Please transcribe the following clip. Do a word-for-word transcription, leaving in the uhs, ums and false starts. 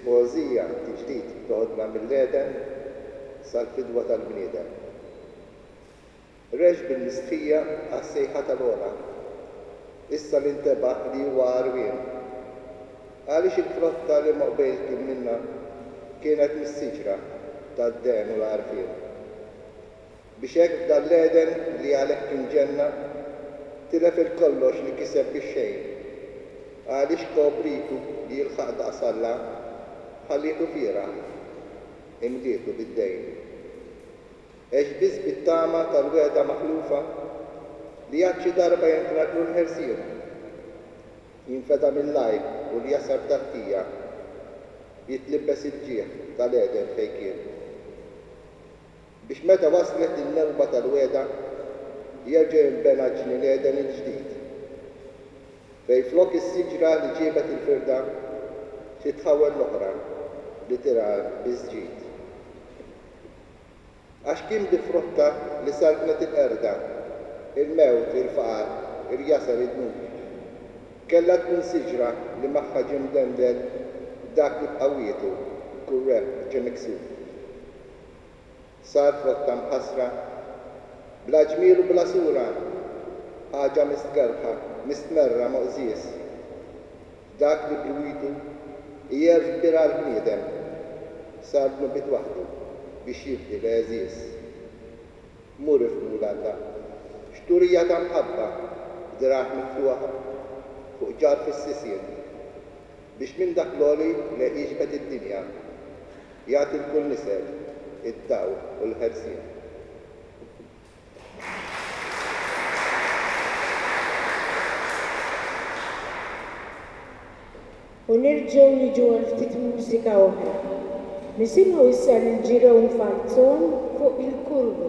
Il-poeżija Tiġdid toħodna mill-Għeden sal-fidwa tal-bniedem. Rex bil-mistħija għas-sejħa tal-ogħla, issa li ntebaħ li huwa għarwien. Għaliex il-frotta li moqbejl kien minnha kienet mis-siġra tad-dehen u l-għarfien. Biex hekk f'dan l-Għeden li għalih kien ġenna, tilef il-kollox li kiseb bix-xejn. Għaliex kobritu li jilħaq daqs Alla, ħallietu fieragħ, imlietu bid-dejn. Għex biss bit-tama tal-wegħda maħlufa li għad xi darba jentratlu l-ħelsien. Jinfeda mill-għajb u l-jasar tat-tija, jitlibbes il-ġieħ tal-Għeden fejn kien. Biex meta waslet in-newba tal-wegħda, jerġa' jinbena ġnien Għeden il-ġdid. Fejn flok is-siġra li ġiebet il-firda, titħawwel l-oħra li tirgħa biss ġid. Għax kien bi frotta li saltnet il-qerda, il-mewt, il-faqar, il-jasar, id-dnub. Kellha tkun siġra li magħha ġie mdendel dak li b'qawwietu kull rebħ ġie miksub. Sar frotta mħassra, bla ġmiel u bla sura, ħaġa mistkerrħa, mistmerra, moqżież. Dak li b'lwitu hi għerf kbir għall-bniedem, sar dnubiet waħdu biex jifdi l-għeżież. Mur ifhmu 'l Alla, x'turija ta' mħabba b'dirgħajh miftuħa fuq ġarf is-sisien, biex minn dak l-għoli lejh jiġbed id-dinja, jagħti 'l kull nisel id-dawl u l-ħelsien. U nerġgħu niġu għal ftit mużika oħra. Nisimgħu issa lil Jerome Falzon fuq il-kurnu.